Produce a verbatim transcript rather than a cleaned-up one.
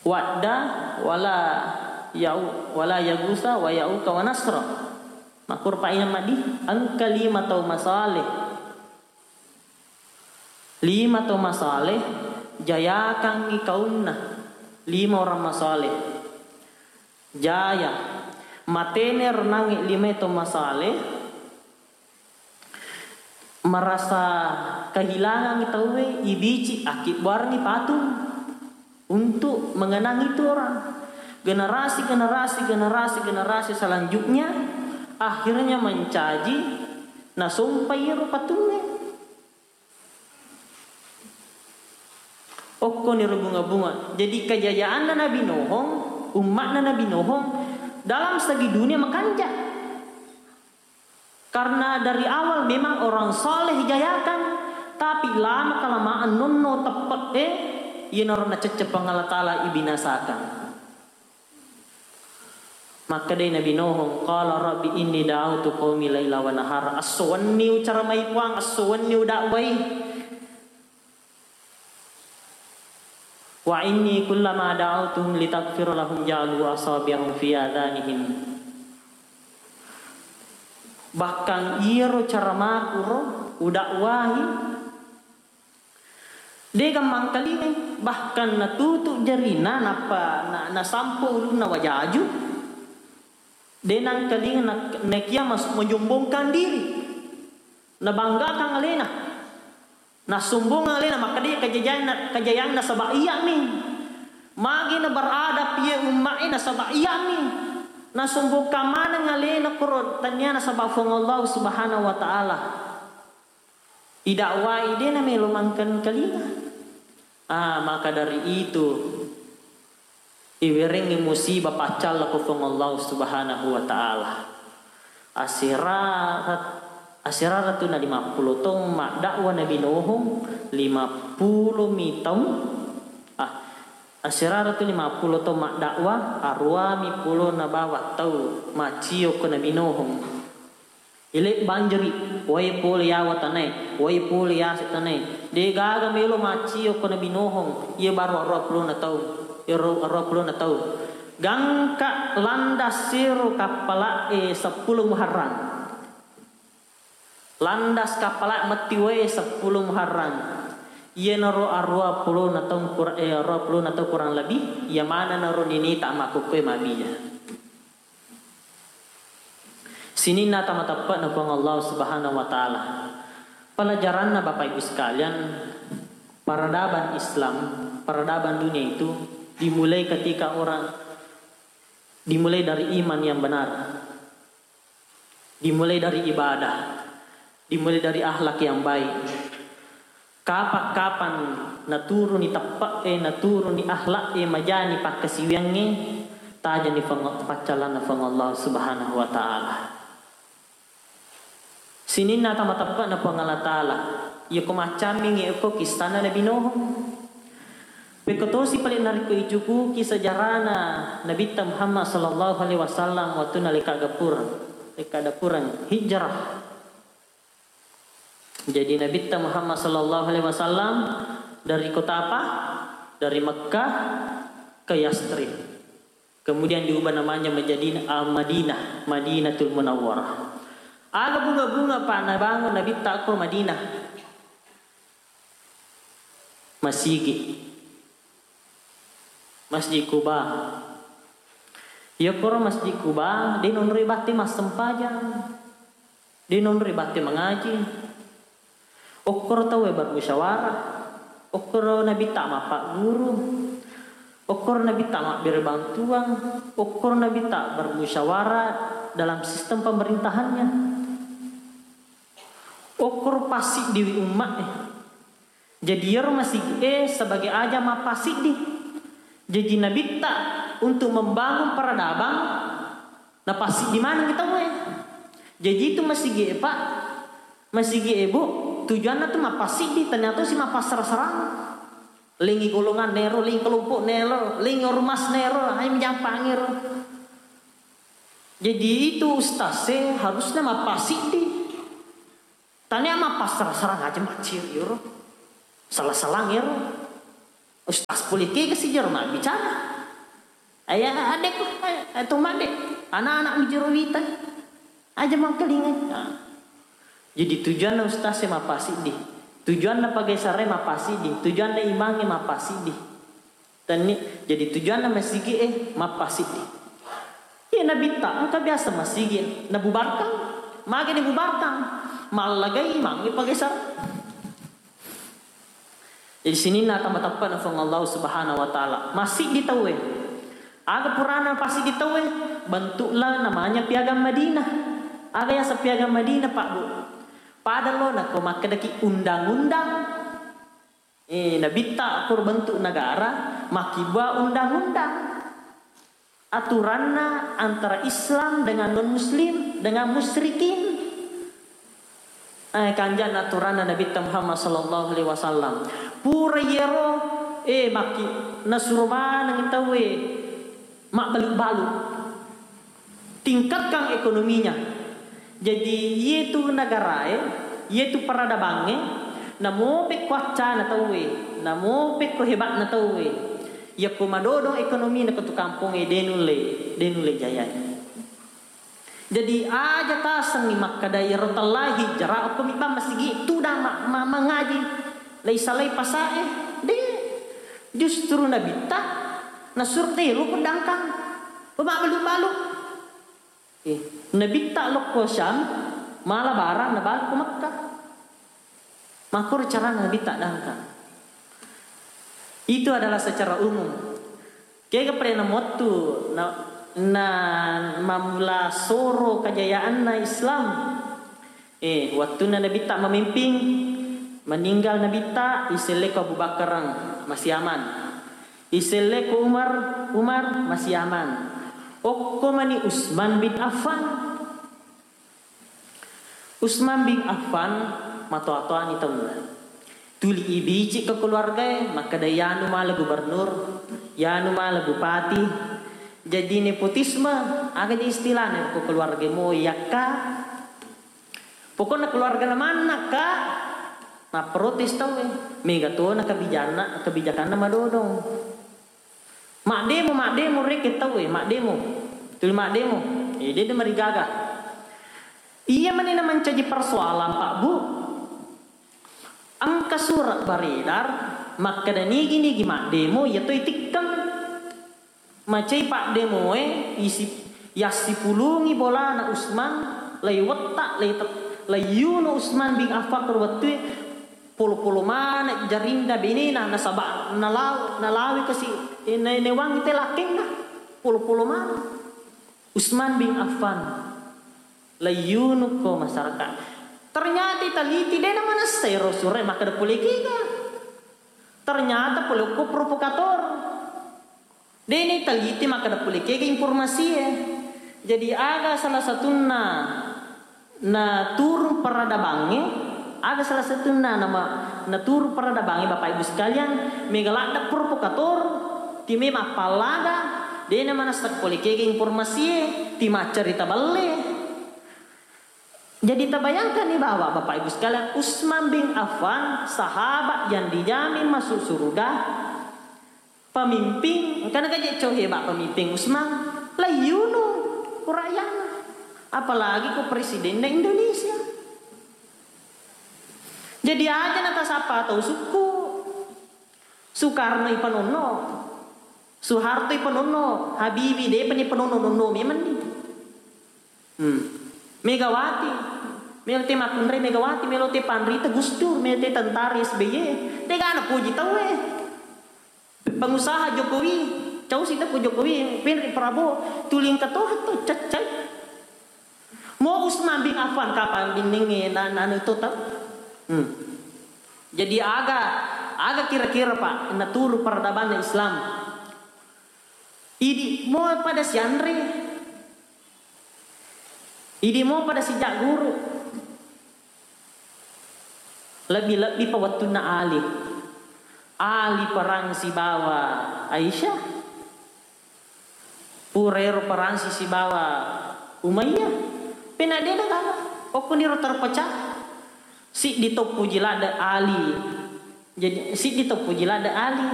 Wadda wala ya'u-, wala yagusa wa ya'uka wa nasra. Makkuro paina maddi, engka lima tau masaleh. Lima tau masaleh, jayakangngi kaunna. Lima orang masaleh. Jaya. Matene renangnge lima tau masaleh, merasa kehilangan tauwe, ibici, akkibbuarengngi patung untuk mengenang itu orang. Generasi, generasi, generasi, generasi selanjutnya akhirnya mencaji, nasompai ero patungnge. Okkoni ro bunga-bunga. Jadi kejayaanna Nabi Nuhung, umma'na Nabi Nuhung dalam segi dunia makanja. Karena dari awal memang orang saleh jayakan, tapi lama kelamaan nonno teppe'e, iyanaro nacecce Puang Allah Ta'ala ibinasakan. Makkedai Nabi Nuhung, qala rabbi inni da'autu qaumi laila wa nahara. Esso wenni ucaramai Puang, esso wenni udakwai. Wa inni kullama da'autuhum litaghfira lahum ja'alu asabi'ahum fi adhanihim. Bahkan iyaro caramaku ro udakwahi, de gammang kalingai, bahkan natutu jarina nappa na-, nasampo ulunna wajaju. De nangkalinga na-, nakia mas-, menyombongkan diri, nabanggakan alena. Nasombongeng alena, makkeda kajajaanna, kajayaanna nasaba iyami. Magi na beradab iye umma'e nasaba iyami. Nasombongkan maneng alena koro tania nasaba Puang Allah Subhanahu wa Ta'ala. Idakwai de namelo mangkengkalinga. Ah, maka dari itu, iwerengngi musibah paccalla ko Puang Allah Subhanahu wa Ta'ala. Asera-, aserara tu na lima puluh taung maddakwa Nabi Nuhung, lima puluh mi taung, ah, aserara tu lima puluh taung maddakwa, aruami pulo na bawang tau macio ko Nabi Nuhung. Ile banjiri, wae pole yawa tanae, wae pole yase tanae. De gaga melo macio ko Nabi Nuhung, iye baru arua pulona taung, iyaro arua pulona taung. Gangka landas sero kappala'e seppulo Muharram. Landas kappala metti wae seppulo Muharram. Iyanaro arua pulona taung kur-, eh, arua pulona taung kurang lebih, iya manenaro ninita makkukkoe mabija. Sininna tama teppe'na Puang Allah Subhanahu wa Ta'ala. Pelajaranna, Bapak Ibu sekalian, peradaban Islam, peradaban dunia itu dimulai ketika orang, dimulai dari iman yang benar, dimulai dari ibadah, dimulai dari akhlak yang baik. Kapang-kapang naturuni teppe'e, naturuni akhlak'e, majani pakkasiwiangnge, tajani Puang-, paccallanna Puang Allah Subhanahu wa Ta'ala. Sininna tama teppe'na Puang Allah Ta'ala, iyako maccammingngi okko kissanna Nabi Nuh. Pekko tosi pale narekko icukuki sejarana Nabitta Muhammad sallallahu alaihi wasallam wettunna lekka gapureng, lekka dapureng hijrah. Jadi, Nabitta Muhammad sallallahu alaihi wasallam dari kota apa? Dari Mekkah ke Yathrib. Kemudian diubah namanya menjadi, ah, Madinah, Madinatul Munawwarah. Aga bunga-bunga pa nabangun Nabitta ko Madinah? Masigi. Masjid Quba. Iyakoro Masjid Quba, de nonroi batte massempajang. De nonroi batte mangaji. Okkoro tauwe bermusyawarah. Okkoro Nabitta mappagguru. Okkoro Nabitta mabbere bantuang. Okkoro Nabitta bermusyawarah dalam sistem pemerintahannya. Okkoro passiddiwi umma'e. Jadi, iyaro masigi'e sebagai aja mappasiddi. Jadi, Nabitta untuk membangun peradaban, napassiddi maneng tauwe. Jadi, itu masigi'e, Pak, masigi'e, Bu, tujuanna tu mappasiddi, ternyata si mappassara-sarang. Lengi golongan nero, lengi kelompok nero, lengi ormas nero, hai menjampang ero. Jadi, itu ustaz e harusnya mappasiddi. Tania mappassara-sarang aja macciri ero. Sala-salang ero. Ustaz pole kega sijaro mabbicara. Ayah adekku, eh, to madde, anak-anak mijero wita. Aja mangkelingai. Nah. Jadi tujuanna ustaz e mappasiddi. Tujuanna pagesare mappasiddi. Tujuanna imangnge mappasiddi. Tenni, jadi tujuanna masigi e mappasiddi. Iya nabitta, engka biasa masigi nabubarkang. Magi dibubarkang? Mallagai imangnge pagesare. Jadi sininna tama tappana Puang Allah Subhanahu wa Ta'ala. Massiddi tauwe. Aga purana passiddi tauwe? Bentuklah namanya Piagam Madinah. Aga yaseng Piagam Madinah, Pak Bu? Pada lo nako makkedaki undang-undang. Eh, nabitta akur bentuk negara, makkibua undang-undang. Aturanna antara Islam dengan non-muslim, dengan musyrikin. Eh, kanjana aturanna Nabitta Muhammad sallallahu alaihi wasallam. Pura iyaro, eh, makki nasuro maneng tauwe mabbalu-balu. Tingkatkan ekonominya. Jadi, iyetu negarae, iyetu peradabangnge, namo pekko accana tauwe, namo pekko hebatna tauwe. Yakko madodong ekonomina ko tu kampongnge, de nulle, de nulle jayai. Jadi, aja tasengngi makkeda iyaro tellahi jara okko mibbang masigi tudang ma-, ma-, mangaji. Laisalai pasae, de. Justru nabitta nasuro telo pedangkang. Pemabbalu-balu. Eh, nabitta lokko Syam, mala barang nabalu ko Mekkah. Makkoro carana nabitta dangkang. Itu adalah secara umum. Kega pada namottu na, na mamula soro kajayaanna Islam. Eh, wattunna nabitta mamimping, meninggal nabitta, iselleko Abu Bakar masih aman. Iselleko Umar, Umar masih aman. Okko mani Utsman bin Affan. Utsman bin Affan matoa-toani taunna. Tuli ibici ke keluargae, makkeda yanu mala gubernur, yanu mala bupati. Jadi nepotisme, aga je istilahna ko keluarga mo yakka. Pokokna keluargana manna, Kak, mapprotes tauwe. Mega tona kebijanna, kebijakanna madodong. Maddemo, maddemo rekeng tauwe, maddemo. Tuli maddemo. Eh, de, de marigaga. Iya mani na mancaji persoalan, Pak Bu. Engka surat beredar makkeda nigi-nigi maddemo, iya to itikkeng. Macai paddemoe isi, yassipulungi bolana Usman, lai wetta, lai te-, lai yunu Usman bin Affan ko wettue, polo-polo maneng jarinna benena, nasaba nalau-, nalawi kasi, eh, na-, naewangi te lakkenna, polo-polo maneng. Usman bin Affan, lai yunu ko masyarakat. Ternyata iteliti, de namanessa ero sure makkeda pole kega. Ternyata pole okko provokator. Deni teliti makkeda pole kega informasie. Jadi aga salah satunna na turun peradabangnge, aga salah satunna nama na turun peradabangnge, Bapak Ibu sekalian, mega ladde provokator, time mappallaga, dena manessa pole kega informasie, ti maccarita balle. Jadi tabayangkan nih bahwa Bapak Ibu sekalian, Utsman bin Affan, sahabat yang dijamin masuk surga, pemimpin, engkana kaje cau hebat pemimpin Utsman, layyunu ku rakyatna. Apalagi ku presidenna Indonesia. Jadi aja natasappa tau sukku. Soekarno ipanonno, Soeharto ipanonno, Habibie depa ni panonno, nonno memenni. Hmm. Megawati, melo te makkunrai Megawati, melo te panrita Gus Dur, melo te tentara S B Y, tegana poji tauwe. Pengusaha Jokowi, cau sita ku Jokowi, penri Prabowo, tuling katoha to caccai. Mo Utsman bin Affan kapang binningnge na, na anu to tau. Hmm. Jadi aga, aga kira-kira, Pak, naturu peradabanna Islam? Idi mo pada sianre. Idi mo pada sijak guru. Lebbi-lebbi pa wettunna Ali. Ali perang sibawa Aisyah. Pura ero perang si sibawa Umayyah. Pena de nagala. Okkoniro terpecah. Siddi to poji ladde Ali. Jadi, siddi to poji ladde Ali.